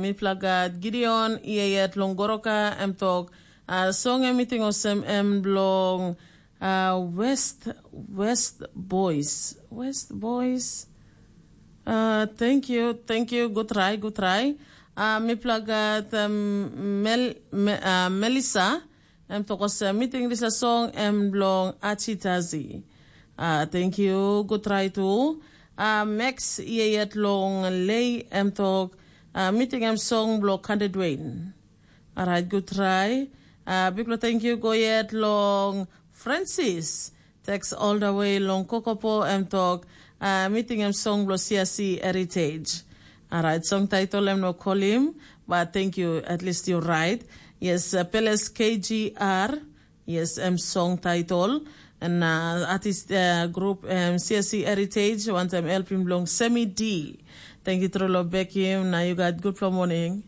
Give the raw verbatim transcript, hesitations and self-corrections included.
Mipela gat Gideon i yet long Goroka, em tok, uh, song em i ting olsem em bilong uh, West, West Boys. West Boys. Uh, thank you, thank you. Good try, good try. Uh, mipela gat um, Mel, Me, uh, Melissa, em tok olsem, mi ting dispela song em bilong Achitazi. Uh, thank you, good try tu. Uh, Max, yet long Lei, em tok, uh, mi ting em song bilong Kande Dwayne. Alright, good try. Uh, bikpela thank you go yet long Francis. Text all the way long Kokopo, em tok, uh, mi ting em song bilong C S C Heritage. Alright, song title em no kolim, but thank you, at least you're right. Yes, uh, Peles K G R, yes, em song title. And uh, artist uh, group um, C S C Heritage, wantam helping belong Semi D. Thank you, Trolo Bekim. Now you got good for morning.